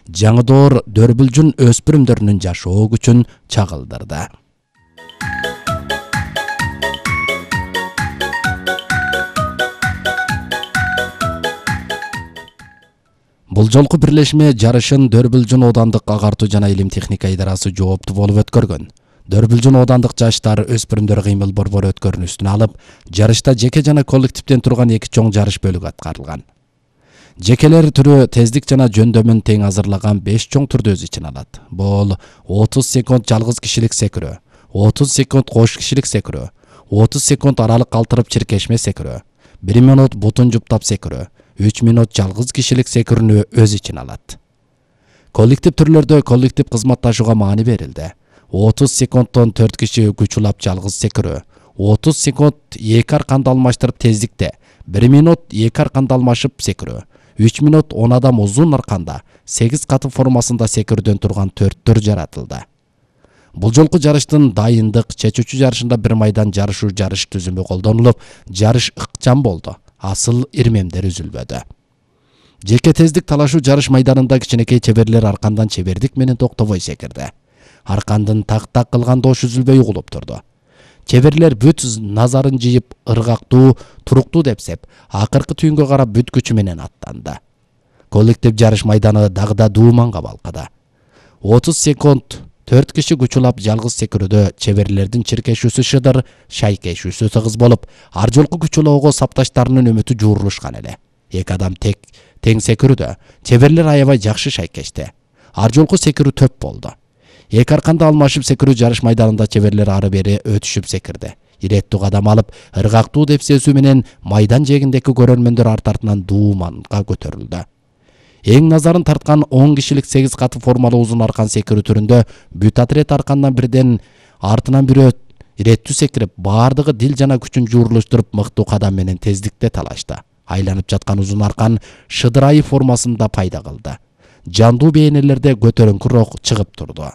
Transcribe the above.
жаңы доор Дөрбүлжүн өспүрүмдөрүнүн жашоо күчүн чагылдырды. Бул жолку бирлешме жарышын Дөрбүлжүн оодандык агартуу жана илим техника идарасы жооптуу болуп өткөргөн. Дөрбүлжүн оодандык жаштар өспүрүмдөр кыймыл борбору өткөрүнүштүн алып, жарышта жеке жана коллективден турган 2 чоң жарыш бөлүгү аткарылган. Жекелер түрү тездик жана жөндөмүн тең азырлаган 5 чоң түрдү өз ичине алат. Бул 30 секунд жалгыз кишилик секирөө, 30 секунд кош кишилик секирөө, 30 секунд аралык калтырып чиркешме секирөө, 1 минут бутун жуптап секирөө, 3 минут жалгыз кишилик секирүүнү өз ичине алат. Коллектив түрлөрдө коллектив кызматташууга маани берилди. 30 секундтон 4 киши күч улап жалгыз секирөө, 30 секунд 2 арканды алмаштырып тездикте, 1 минут 2 арканды алмашып секирөө, 3 минут 10 адам узун арканда 8 каты формасында секирүүдөн турган 4 түр жаратылды. Бул жолку жарыштын дайындык чечүүчү жарышында 1 майдан жарышуу жарыш түзүмү колдонулуп, жарыш ыкчам болду. Асыл ирмемдер үзүлбөдү. Жеке тездик талашуу жарыш майданында кичинекей чеберлер аркандан чебердик менен токтобой секирди. Аркандын так-так кылган дош үзүлбөй угулуп турду. Чеберлер бүт назарын жыйып, ыргактуу, туруктуу депсеп, акыркы түйүнгө карап бүт күчү менен аттанды. Коллектив жарыш майданы дагы да дууманга балкыды. 30 секунд 4 киши күч улап жалгыз секирүүдө чеберлердин чиркешүүсү шыдыр, шайкешүүсү тыгыз болуп, ар жолку күч улоого сапташтарынын үмүтү жуурулушкан эле. 2 адам тең секирүүдө чеберлер аябай жакшы шайкешти. Ар жолку секирүү төп болду. 2 арканды алмашып секирүү жарыш майданында чеберлер ары бери өтүшүп секирди. Иреттүү кадам алып, ыргактуу деп сезүү менен майдан жээгиндеги көрөрмөндөр артынан дууманга көтөрүлдү. Эң назарын тарткан 10 кишилик 8 каты формалуу узун аркан секирүү түрүндө бүт отряд аркандан бирден артынан бирөө иреттүү секирип, баардыгы дил жана күчүн жуурулуштуруп мыктуу кадам менен тездикте талашты. Айланып жаткан узун аркан шыдырайы формасында пайда кылды. Жандуу бейнелерде көтөрүңкү рок чыгып турду.